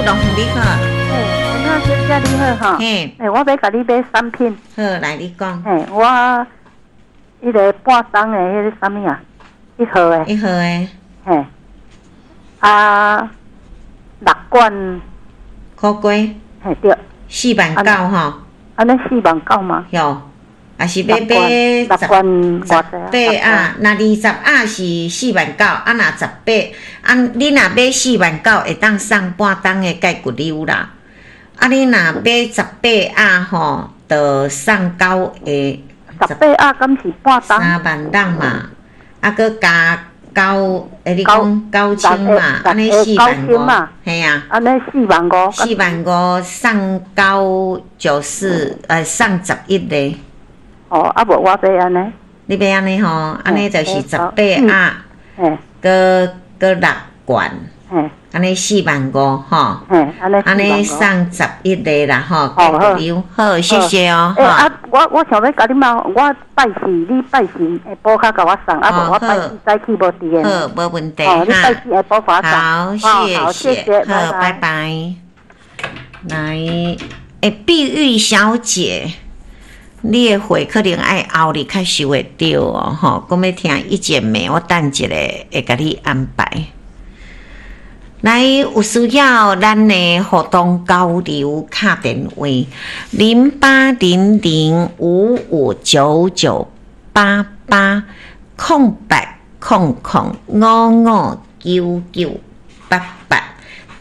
龍鳳你好。嘿，文小姐你好吼。嘿。欸，我欲共你買產品。好，來你講。嘿，我彼个半冬的彼个啥物啊？一號的。一號的。嘿。啊，六罐。苦瓜。嘿對。四萬九吼。按呢四萬九嗎？有，抑是欲買六罐偌濟？八盒，若20盒是四萬九，啊若十八，啊你若買四萬九會當送半冬的蓋骨溜啦。啊你若買十八盒吼，就送九個。十八盒敢是半冬？3萬六嘛，啊閣加九，欸你講九千嘛，按呢四萬五，嘿啊。按呢四萬五。四萬五送九九四，送11个。哦，啊無我欲按呢。你欲按呢吼？按呢就是十八盒，閣閣六罐，按呢四萬五吼。按呢送11个啦吼，好，好，謝謝哦。欸啊，我想欲共你問，我拜四你拜四下晡較共我送，啊無我拜四早起無佇的。好，無問題。哦，你拜四下晡共我送。好，謝謝，好，拜拜。來，欸，碧玉小姐。你的貨可能愛後日較收會著哦，吼！講欲聽意見沒？我等一下會共你安排。來，有需要咱的活動交流敲電話08005599880800559988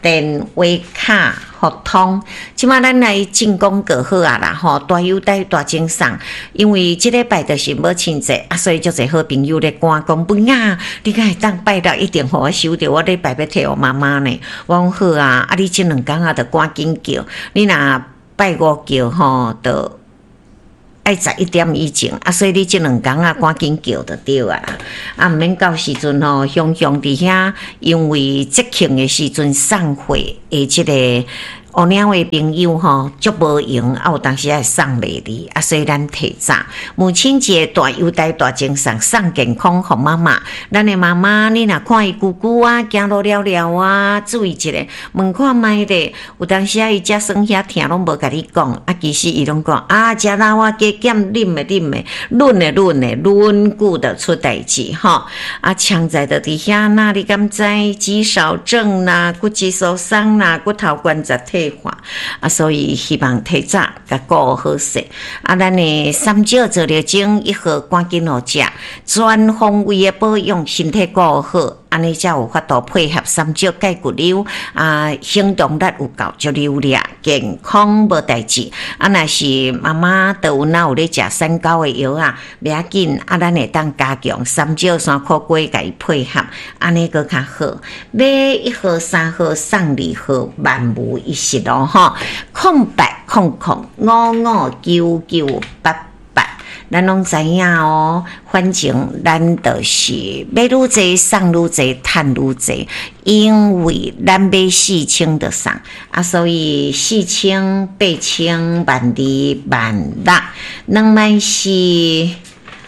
電話卡互通。這馬咱來進廣告好啊啦吼，大優待大贈送，因為這禮拜就是母親節啊，所以足濟好朋友咧趕講，文啊，你敢會當拜六一定予我收著，我禮拜欲提予媽媽呢。我講好啊，啊你這兩工仔著趕緊叫，你若拜五叫吼，就愛11點以前，啊，所以你這兩工仔趕緊叫就對啊啦。啊，毋免到時陣吼，雄雄佇遐，因為節慶的時陣送貨的這個烏領的朋友吼，足無閒，啊有當時會送袂離，啊，所以咱提早母親節大優待大贈送，送健康予媽媽。咱的媽媽，你若看伊久久啊，行路了了啊，注意一下，問看覓咧。有當時啊，伊食酸遐疼攏無共你講，啊，其實伊攏講啊，食老啊，加減啉的啉的，忍的忍的，忍久就出代誌吼。啊，常在就佇遐，那你敢知肌少症啦，骨質疏鬆啦，骨頭關節退化啊，所以希望提早共顧好勢。啊，咱的三少做療程一號趕緊予食，全方位的保養，身體顧好，按呢才有法度配合三少鈣骨溜啊，行動力有夠足流利，健康無代誌。啊，若是媽媽都有哪有咧食三高的藥啊，袂要緊，啊，咱會當加強三少山苦瓜共伊配合，按呢閣較好。買一號、三號送二號，萬無一失咯吼。0800559988，咱攏知影哦。反正咱就是買愈濟送愈濟，趁愈濟，因為咱買四千就送啊，所以四千、八千、萬二、萬六、2萬4，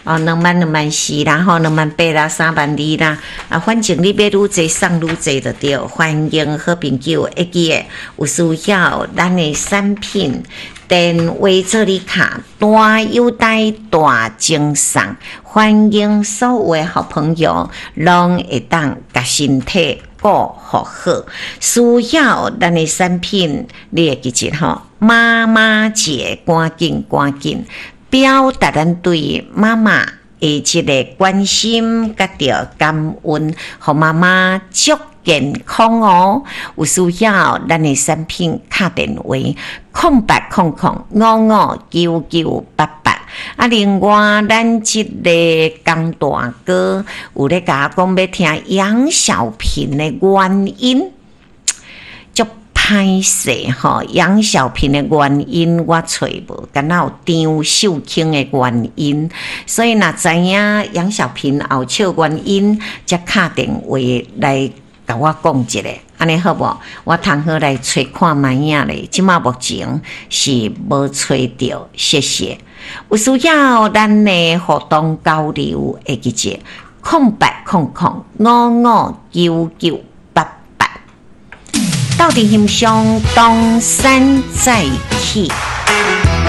哦，2萬2萬4啦，吼，2萬8啦，3萬2啦，啊，反正你買愈濟送愈濟就對。歡迎好朋友會記得有需要咱的產品，電話做你卡，大優待大贈送，歡迎所有的好朋友攏會當共身體顧好好。需要咱的產品，你會記得吼，媽媽節趕緊趕緊表達咱對媽媽的這个關心佮著感恩，予媽媽足健康哦。有需要咱的產品，敲電話0800559988。啊，另外咱這个江大哥有咧共我講欲聽楊小平的原因，足歹勢吼，楊小平的原因我揣無，敢若有張秀卿的原因，所以若知影楊小平後笑原因，才敲電話來共我講一下，按呢好無？我通好來揣看覓仔咧，這馬目前是無揣著，謝謝。有需要咱的活動交流，會記者0800559988。鬥陣欣賞東山再起。